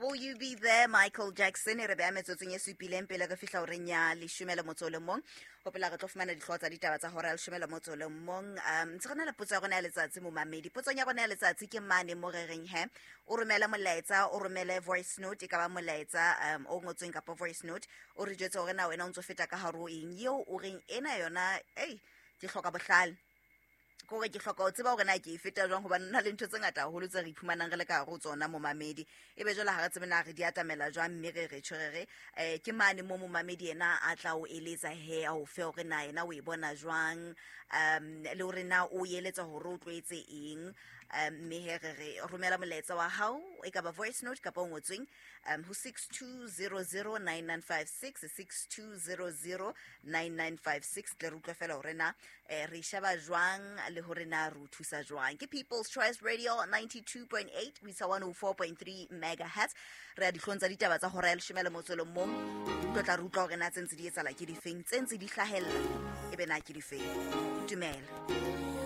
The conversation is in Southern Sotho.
Will you be there, Michael Jackson? E re beha metsotsong e supileng pele re fihla horeng ya leshome le motso o le mong. Hopola re tlo fumana dihlooho tsa ditaba tsa hora ya leshome le motso o le mong. Ntse re na le potso ya rona ya letsatsi, momamedi. Potsong ya rona ya letsatsi ke mane mo re reng he o romele molaetsa, o romele voice note, e ka ba molaetsa o ngotsweng kapa voice note, o re jwetse hore na wena o ntso feta ka hare ho eng eo o reng ena yona, ei, ke hloka bohlale, kore ke hloka ho tseba hore na ke e feta jwang, hobane na le ntho tse ngata haholo tse re iphumanang re le ka hare ho tsona, momamedi. E be jwale ha re tsebe na re di atamela jwang, mme re re tjho re re ke mane mo momamedi ena a tla o eletsa he, a o fe hore na yena o e bona jwang, le hore na o eletsa hore o tlo etse eng. Mme he re re romela molaetsa wa hao, e ka ba voice note kapa o ngotsweng, ho 62009956, 62009956, tle re utlwe fela hore na re sheba jwang le hore na re o thusa jwang. Ke People's Choice Radio 92.8 ho isa 104.3 megahertz. Re ya dihlong tsa ditaba tsa hora ya leshome le motso le mong. Tlo tla re utlwa hore na tse ntse di etsahala ke difeng, tse ntse di hlahella e be na ke difeng. Dumela.